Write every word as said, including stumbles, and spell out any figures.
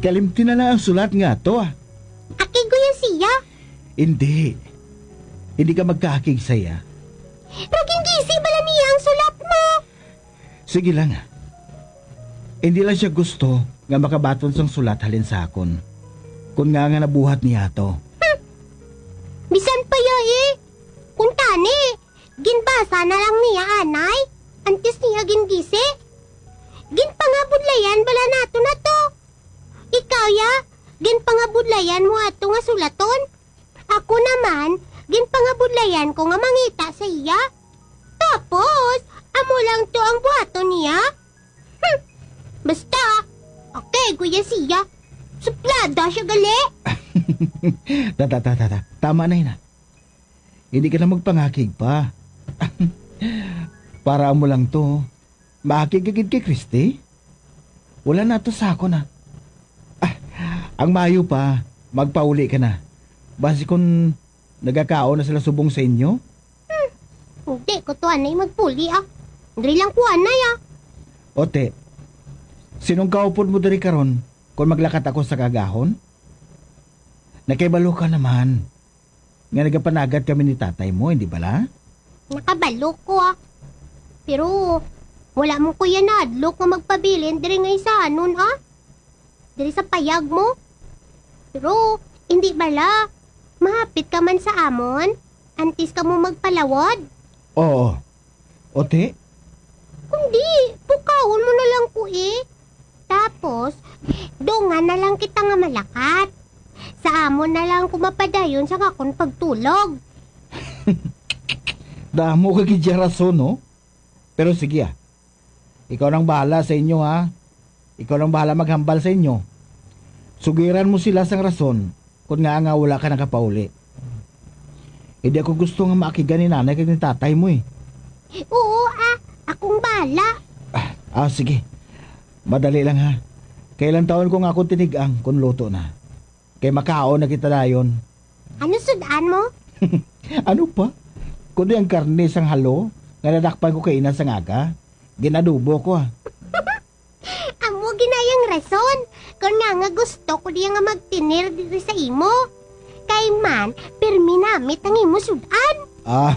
Kalimti na lang ang sulat nga ato, ah. Akig ko yan siya. Hindi. Hindi ka magkaakig sa iya. Pero gingisi bala niya ang sulat mo. Sige lang, ah. Hindi lang siya gusto nga makabaton sang sulat halin sa akon. Kun nga nga nabuhat niya to. Hmm. Bisan pa ya eh. Kung tani, ginbasa na lang niya anay. Antes niya gingisi. Ginpangabudlayan bala nato na to. Ikaw ya, ginpangabudlayan mo ato nga sulaton. Ako naman, ginpangabudlayan ko nga mangita sa iya. Tapos, amo lang to ang buhaton niya. Hmm. Basta, okay, kuya siya. Suplada siya gali. Ta, ta, ta, ta, ta. Tama na yun, ah. Hindi ka na magpangakig pa. Para mo lang to. Maakig ka gid kay Christy? Wala na to sa ako na. Ah, ang maayo pa, magpauli ka na. Basi kung nagakaon na sila subong sa inyo? Hmm, hindi ko to anay magpuli, ah. Diri lang ko anay, ah. Ote, sinong kaupod mo diri karon kung maglakat ako sa kagahon? Nakibalo ka naman nga nagapanagat kami ni tatay mo, hindi bala? Nakabalo ko, ah. Pero wala mo ko yan nahadlok nga magpabilin diri nga isanon, ah. Diri sa payag mo. Pero hindi bala, mahapit ka man sa amon, antes ka mo magpalawod. Oo. Ote? Kundi, pukawon mo na lang ko, eh. Tapos, dungan na lang kita nga malakat. Sa amon na lang ko mapadayon sa akon pagtulog. Damo ka gid ya rason, no? Pero sige, ah. Ikaw nang bahala sa inyo, ha? Ikaw nang bahala maghambal sa inyo. Sugiran mo sila sang rason kung nga nga wala ka nakapauli. Hindi ako gusto nga maakigan ni nanay kag ni tatay mo, eh. Oo, ah. Akong bahala. Ah, ah, sige. Madali lang, ha. Kailan taon ko nga akong tinigang kung luto na. Kay makaon na kita dayon. Ano sudan mo? Ano pa? Kundi ang karne sang halo nga nadakpan ko kaina sang aga, ginadubo ko, ah. Amo ginayang rason kon nga nga gusto ko diya nga magtinir diri sa imo. Kay man, pirmi namit ang imo sudan. Ah.